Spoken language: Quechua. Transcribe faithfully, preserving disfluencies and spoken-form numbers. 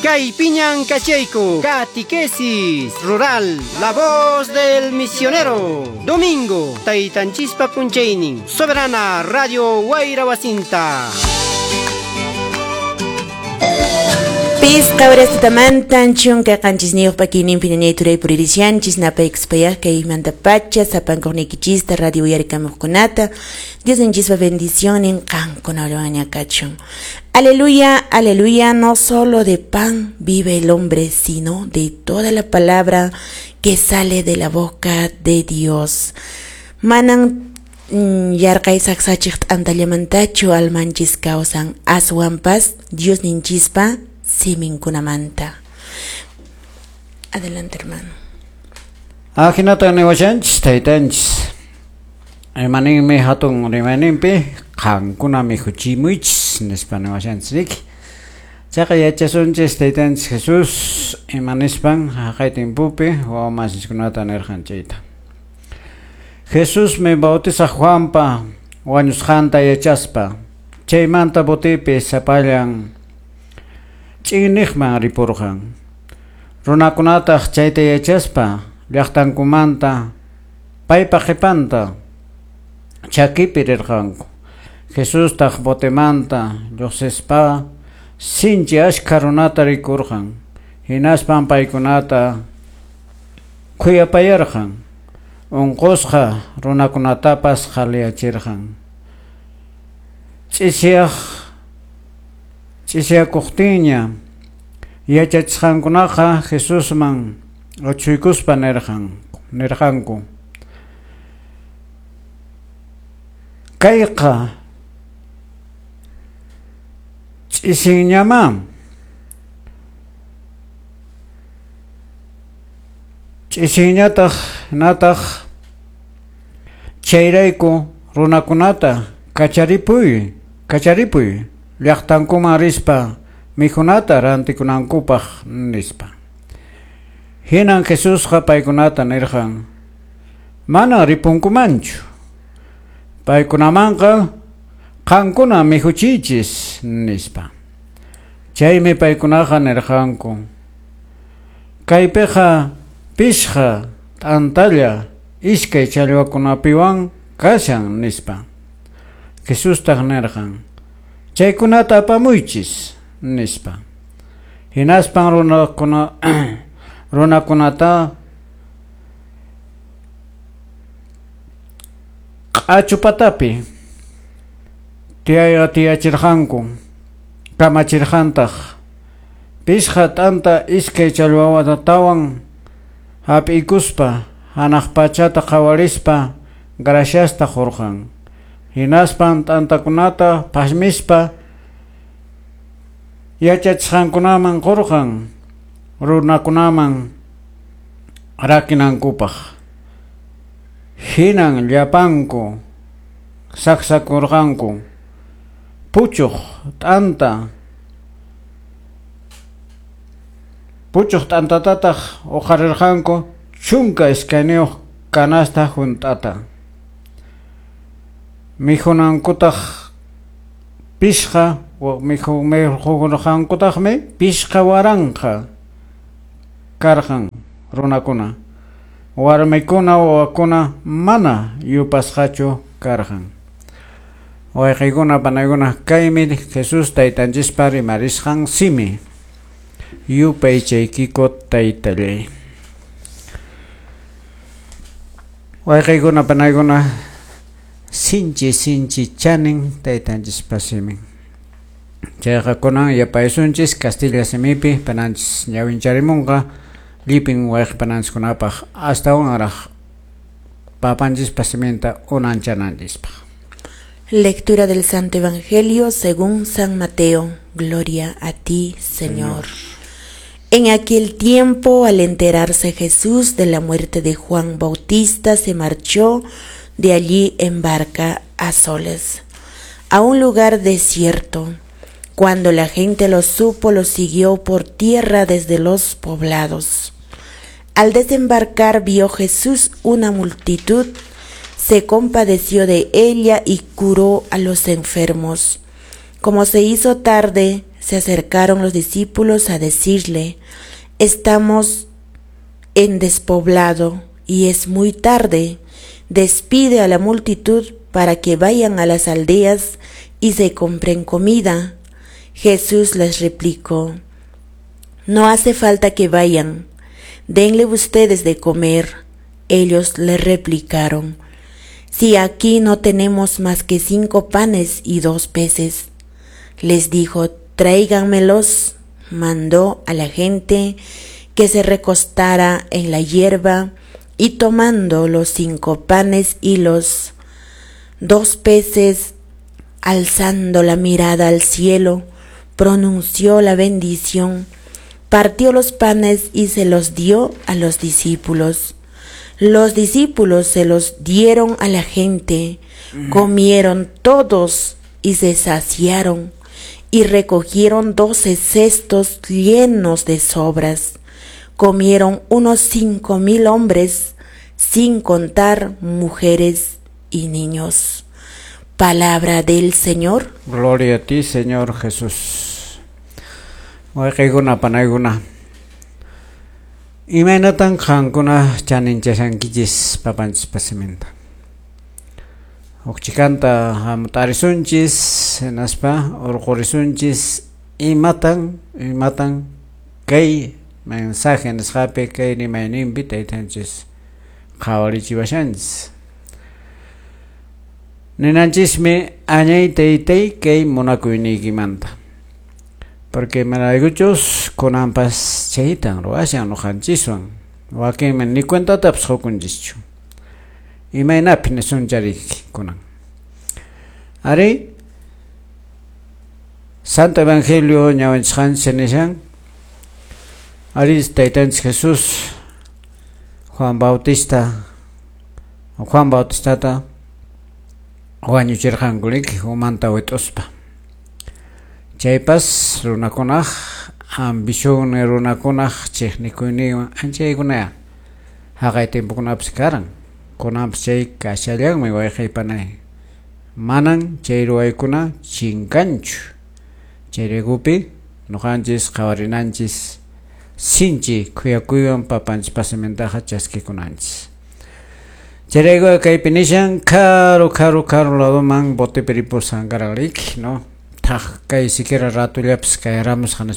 Kaypiñan kachayku, Catequesis Rural, La Voz del Misionero. Domingo, Taytanchispa p'unchaynin, Soberana Radio Wayra Wasinta. Pisqa horastamantan chunka qanchisniyuq pakiyninpi ñañay turay puririshanchis napaykuspayaq kaymanta pacha sapankuqniykichista radio uyarikamuqkunata Diosninchispa bendicionnin qankunawanña kachun. Aleluya, aleluya, no solo de pan vive el hombre, sino de toda la palabra que sale de la boca de Dios. Manan yarqay saksachiq t'antallamantachu almanchis kawsan, aswanpas Diosninchispa siminkunamanta. Adelante, hermano. Ajinata niwashanchis taytanchis. Imaninmi hatun rimayninpi qankuna mikhuchimuychis nispa niwashanchis riki. Chayqa yachasunchis taytanchis Jesús imanispan haqay timpupi wawamasiskunata nirqan chayta. Jesusmi bautizaq Juanpa wañusqanta yachaspa chaymanta botipi sapallan ch'inniqman ripurqan. Runakunataq chayta yachaspa llaqtankumanta paypa qhipanta chakipi rirqanku. Jesustaq botemanta lluqsispa sinchi ashkha runata rikurqan. Hinaspan paykunata khuyapayarqan. Unqusqa runakunatapas qhaliyachirqan. Ch'isiyaq Ch'isiyakuqtinña yachachisqankunaqa Jesusman achhuykuspa nirqan nirqanku. Kayqa ch'isinñamá ch'isinñataq nataq chayrayku runakunata kacharipuy kacharipuy llaqtankuman rispa mikhunata rantikunankupaq nispa. Hinan Jesusqa paykunata nirqan: mana ripunkumanchu, paykunamanqa qankuna mikhuchiychis nispa. Chaymi paykunaqa nirqanku: kaypiqa pishqa t'antalla iskay challwakunapiwan kashan nispa. Jesustaq nirqan: chaykunata apamuychis nispa. Hinaspan runakuna runakunata q'achupatapi tiyachirqanku kamachirqantaq pishqa t'anta iskay challwatawan hap'ikuspa hanaq pachata qhawarispa graciasta qurqan. Hinaspan t'antakunata phasmispa yachachisqankunaman qurqan runakunaman rakinankupaq. Hinan llapanku saksakurqanku. Puchuq t'anta puchuq t'antatataq uqarirqanku chunka iskayniyuq canasta hunt'ata. Mikhunankutaq pishqa mikhukurqankutaqmi pishqa waranqa karqan runakuna. Warmikuna wawakuna mana yupasqachu karqan. Wayqiykuna panaykuna kaymi Jesús taytanchispa rimarisqan simi. Yupaychaykiko taytallay. Wayqiykuna panaykuna sinchi sinchi chanin taytanchispa simin. Chayqa kunan yapaysunchis Castilla simipi pananchis ñawincharimunqa llipin wayqi pananchiskunapaq astawanraq papanchispa siminta unanchananchispaq. Lectura del Santo Evangelio según San Mateo. Gloria a ti, Señor. En aquel tiempo, al enterarse Jesús de la muerte de Juan Bautista, se marchó de allí en barca a solas, a un lugar desierto. Cuando la gente lo supo, lo siguió por tierra desde los poblados. Al desembarcar, vio Jesús una multitud, se compadeció de ella y curó a los enfermos. Como se hizo tarde, Se acercaron los discípulos a decirle: Estamos en despoblado y es muy tarde. Despide a la multitud para que vayan a las aldeas y se compren comida. Jesús les replicó: No hace falta que vayan, denle ustedes de comer. Ellos le replicaron: Si aquí no tenemos más que cinco panes y dos peces. Les dijo: Tráiganmelos. Mandó a la gente que se recostara en la hierba, y tomando los cinco panes y los dos peces, alzando la mirada al cielo, pronunció la bendición, partió los panes y se los dio a los discípulos. Los discípulos se los dieron a la gente, comieron todos y se saciaron, y recogieron doce cestos llenos de sobras. Comieron unos cinco mil hombres, sin contar mujeres y niños. Palabra del Señor. Gloria a ti, Señor Jesús. Wayqiykuna panaykuna. Imaynatan qankuna chaninchashankichis papanchispa siminta. Huk chikanta hamut'arisunchis, hinaspa urqurisunchis imatan imatan kay mensaje nisqapi kay rimayninpi taytanchis qhawarichiwashanchis. Ninanchismi añay taytay kay munakuyniykimanta. Porque imaraykuchus kunanpas chaytan ruwashan ñuqanchiswan wakinmi ni cuentatapas qukunchischu. Imaynapi nisunchari kunan. Ari Santo Evangelio ñawinchisqanchis nishan ari taytanchis Jesús Juan Bautista Juan Bautistata wañuchirqanku riki umanta wit'uspa. Chaypas runakunaq ambición runakunaq chiqnikuyninwan anchaykunaya haqay timpukunapas karan. Kunanpas chay kashallanmi wayqaypanay. Manan chay ruwaykuna chinkanchu. Chayraykupi ñuqanchis qhawarinanchis sinchi khuyakuywan papanchispa simintaqa chaskikunanchis. Chayrayku kaypi nishan karu karu karu ladoman botepi ripusqan karan riki, no? Thaq kay siquiera ratullapas kayaramusqa.